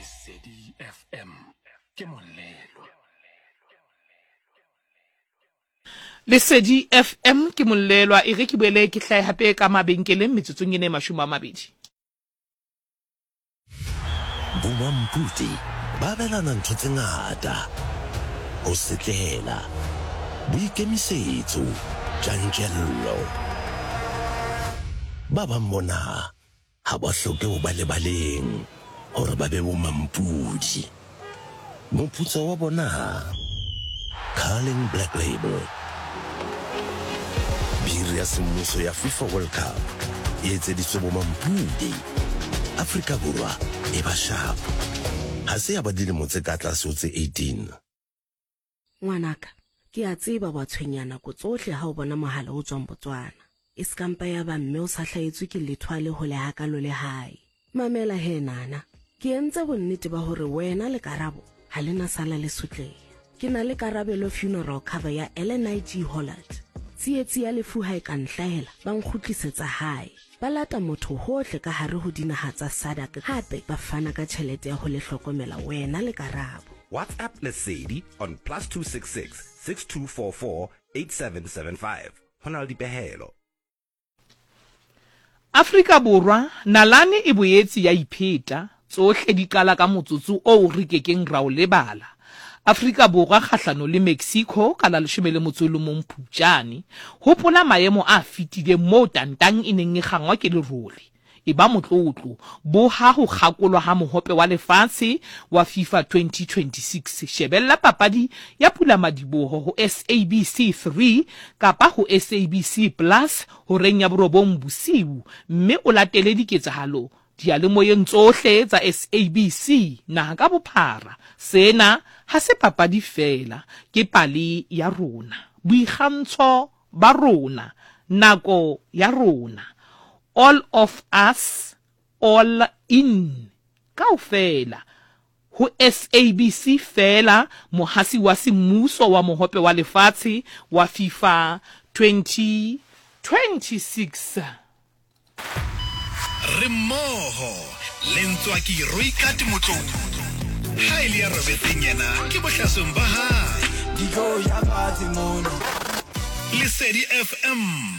Lesedi FM ke molelwa. Lesedi FM ke molelwa. E re ke boele ke hlahe hape ka mabenkeleng metsotsong ena e 20. Bomampudi ba abelana ntho tse ngata, ho setlela, boikemisetso, tjantjello. Ba bang bona ha ba hloke ho ba lebaleng hore ba be bomampudi. Moputso wa bona? Carling Black Label. Biri ya semmuso ya FIFA World Cup e etseditswe bomampudi. Afrika Borwa e ba sharp. Ha se ya ba dilemo tse ka tlase ho tse 18. Ngwanaka, ke a tseba wa tshwenyeha nako tsohle ha o bona mohala o tswang Botswana. E se ka mpa ya ba mme o sa hlahetswe ke letho a le hole hakalo le hae. Mamela he Nana, ke entse bonnete ba hore wena le Karabo ha le na sala le sotleha. Ke na le Karabelo Funeral Cover ya LNIG Hollard. Tsietsi ya lefu ha e ka nhlahela, ba nkgutlisetsa hae. Ba lata motho hohle ka hare ho dinaha tsa SADC hape ba fana ka tjhelete ya ho le hlokomela wena le Karabo. WhatsApp Lesedi on +266 6244 8775. Ho na le dipehelo. Afrika Borwa, nalane e boetse ya ipheta, tsohle di qala ka motsotso oo re ke keng ra o lebala. Afrika Borwa kgahlano le Mexico ka la 11 Phupjane. Hopola maemo a fetileng moo tantang e neng e kgangwa ke lerole. Eba motlotlo. Boha ho kgakolwa ha Mohope wa Lefatshe wa FIFA 2026. Shebella papadi ya pulamadiboho ho SABC 3 kapa ho SABC Plus horeng ya borobong bosiu mme o latele diketsahalo diyalemoyeng tsohle tsa SABC naha ka bophara. Sena ha se papadi feela, ke pale ya rona. Boikgantsho ba rona, nako ya rona. All of us, all in. Kaofela. Ho SABC feela, mohasi wa semmuso wa Mohope wa Lefatshe wa FIFA 2026. Re mmoho le Ntswaki Roikat Motlou. Ha e le ya robetseng yena ke bohlasweng ba hae. Di tlo ja fatshe mono. Lesedi FM.